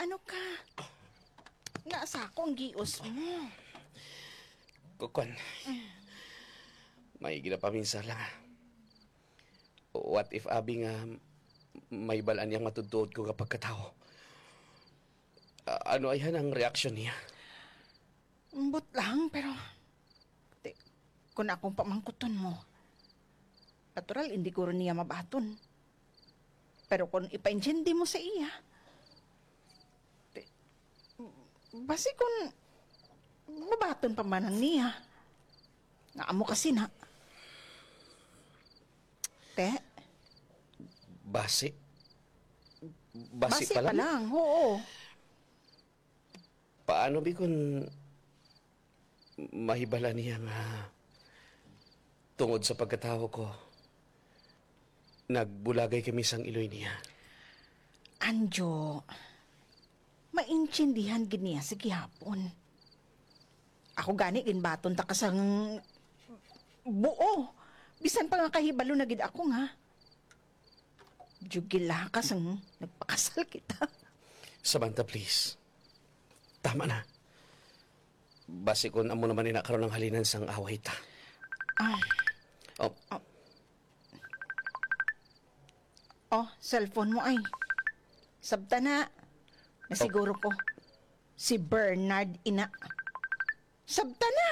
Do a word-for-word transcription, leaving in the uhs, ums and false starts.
Ano ka? Nasa ako ang gios mo. Kukon. May ginapaminsa lang, ah. What if abi nga may balaan niyang matudtuod ko nga pagkatawo? A- ano ayhan ang reaksyon niya? Ambot lang, pero, ti, kung akong pamangkuton mo, natural, hindi guro niya mabaton. Pero kung ipaintindi mo sa iya, ti, basi kung mabaton pa man ang niya, nga amo kasi na. Te? Basi? Basi Basi pa pa lang? lang, oo. Paano bi kun mahibala niya nga tungod sa pagkatawo ko, nagbulagay kami sang iloy niya? Anjo, maintindihan gid niya sa gihapon. Ako gani ginbaton ta ka sang buo. Bisan pa nga kahibalo na gid ako nga. Jugila ka sang nagpakasal kita. Samantha, please. Tama na. Basi kun amo naman ina karon ang halinan sang away ta. Ah. Oh. Oh. Oh, cellphone mo ay. Sabta na. Nasiguro ko. Si Bernard ina. Sabta na.